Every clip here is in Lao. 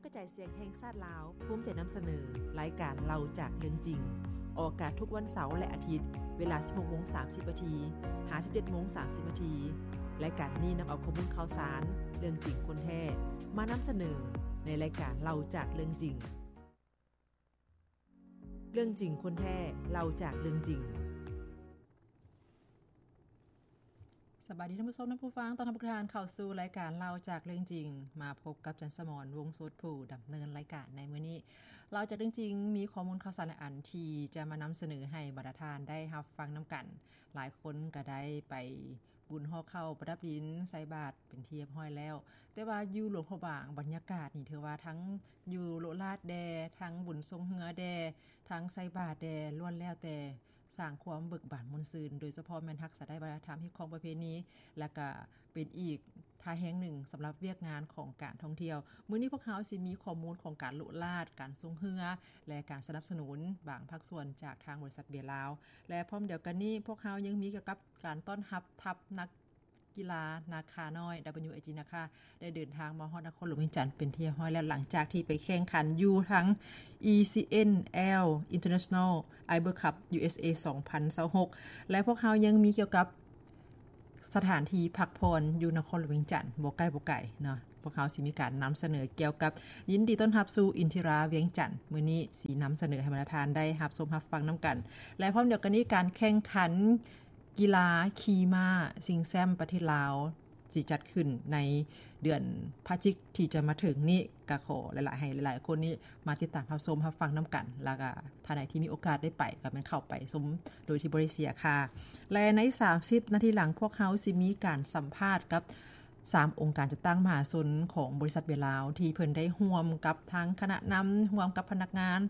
ກະຈາຍສຽງແຫ່ງຊາດລາວ ພູມໃຈນຳສະເໜີ ລາຍການເລົ່າຈາກເລື່ອງຈິງ ອອກອາກາດທຸກວັນເສົາ ແລະ ອາທິດ ເວລາ ສິບຫົກໂມງສາມສິບນາທີ ຫາ ສິບເຈັດໂມງສາມສິບນາທີ. ລາຍການນີ້ນຳເອົາຂໍ້ມູນຂ່າວສານ ເລື່ອງຈິງຄົນແທ້ ມານຳສະເໜີ ໃນລາຍການເລົ່າຈາກເລື່ອງຈິງ. ເລື່ອງຈິງຄົນແທ້ ເລົ່າຈາກເລື່ອງຈິງ. ສະບາຍດີທ່ານຜູ້ຊົມ ທ່ານຜູ້ຟັງ, ຕ້ອນຮັບທຸກທ່ານເຂົ້າສູ່ລາຍການເລົ່າຈາກເລື່ອງຈິງ. ມາພົບກັບຈັນສະໝອນ ວົງສົດ ຜູ້ດຳເນີນລາຍການໃນມື້ນີ້. ເລົ່າຈາກເລື່ອງຈິງ ມີຂໍ້ມູນຂ່າວສານຫຼາຍອັນທີ່ຈະມານຳສະເໜີໃຫ້ບັນດາທ່ານໄດ້ຮັບຟັງນຳກັນ. ຫຼາຍຄົນກໍໄດ້ໄປ ບຸນຫໍ່ເຂົ້າປະດັບດິນ ໃສ່ບາດເປັນທີ່ຮຽບຮ້ອຍແລ້ວ. ແຕ່ວ່າຢູ່ຫຼວງພະບາງ ບັນຍາກາດນີ້ຖືວ່າທັງຢູ່ໂລະລາດແດ່, ທັງບຸນຊົງເຮືອແດ່, ທັງໃສ່ບາດແດ່ ລ້ວນແລ້ວແຕ່ສ້າງຄວາມເບີກບານມ່ວນຊື່ນ, ໂດຍສະເພາະແມ່ນຮັກສາໄດ້ວັດທະນະທຳ, ຮີດຄອງປະເພນີ ແລະກະເປັນອີກທ່າແຮງໜຶ່ງສຳລັບວຽກງານຂອງການທ່ອງທ່ຽວ. ມື້ນີ້ພວກເຮົາຊິມີຂໍ້ມູນຂອງການໂລະລາດ, ການຊົງເຮືອ ແລະ ການສະໜັບສະໜູນບາງພາກສ່ວນຈາກທາງບໍລິສັດເບຍລາວ. ແລະ ພ້ອມດຽວກັນນີ້ ພວກເຮົາຍັງມີກ່ຽວກັບ ການຕ້ອນຮັບທັບນັກກິລານາຄານ້ອຍ WAG ນາຄາ ໄດ້ເດີນທາງມາຮອດນະຄອນຫຼວງວຽງຈັນເປັນທີ່ຮຽບຮ້ອຍແລ້ວ ຫຼັງຈາກທີ່ໄປແຂ່ງຂັນຢູ່ທາງ ECNL International Iber Cup USA ສອງພັນຊາວຫົກ ແລະ ພວກເຮົາຍັງມີກ່ຽວກັບສະຖານທີ່ພັກຜ່ອນຢູ່ນະຄອນຫຼວງວຽງຈັນ ບໍ່ໃກ້ບໍ່ໄກເນາະ. ພວກເຮົາຊິມີການນຳສະເໜີກ່ຽວກັບ ຍິນດີຕ້ອນຮັບສູ່ອິນທິຣາວຽງຈັນ. ມື້ນີ້ຊິນຳສະເໜີໃຫ້ບັນດາທ່ານໄດ້ຮັບຊົມຮັບຟັງນຳກັນ ແລະ ພ້ອມດຽວກັນນີ້ ການແຂ່ງຂັນ ກິລາຂີ່ມ້າຊິງແຊັມປະເທດລາວ ຊິຈັດຂຶ້ນໃນເດືອນພະຈິກທີ່ຈະມາເຖິງນີ້. ກະຂໍຫຼາຍໆ ໃຫ້ຫຼາຍໆຄົນນີ້ມາຕິດຕາມຮັບຊົມຮັບຟັງນຳກັນ ແລ້ວກະທ່ານໃດທີ່ມີໂອກາດໄດ້ໄປ ກະແມ່ນເຂົ້າໄປຊົມໂດຍທີ່ບໍ່ໄດ້ເສຍຄ່າ. ແລະ ໃນສາມສິບນາທີຫຼັງ ພວກເຮົາຊິມີການສຳພາດກັບສາມອົງການຈັດຕັ້ງມະຫາຊົນຂອງບໍລິສັດເບຍລາວ ທີ່ເພິ່ນໄດ້ຮ່ວມກັບທາງຄະນະນຳ ຮ່ວມກັບພະນັກງານ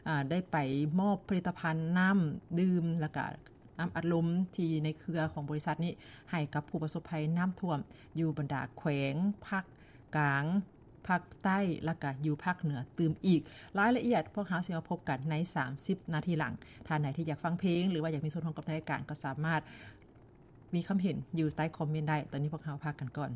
ອາ ໄດ້ໄປມອບຜະລິດຕະພັນນ້ຳດື່ມ ແລ້ວກະ ນ້ຳອັດລົມທີ່ໃນເຄືອຂອງບໍລິສັດນີ້ ໃຫ້ກັບຜູ້ປະສົບໄພນ້ຳຖ້ວມຢູ່ບັນດາແຂວງພາກກາງ, ພາກໃຕ້ ແລ້ວກະຢູ່ພາກເໜືອຕື່ມອີກ. ລາຍລະອຽດພວກເຮົາຊິມາພົບກັນໃນສາມສິບນາທີຫຼັງ. ທ່ານໃດທີ່ຢາກຟັງເພງ ຫຼືວ່າຢາກມີສ່ວນຮ່ວມກັບໃນລາຍການ ກໍສາມາດມີຄຳເຫັນຢູ່ໃຕ້ຄອມເມັນໄດ້. ຕອນນີ້ພວກເຮົາພັກກັນກ່ອນ.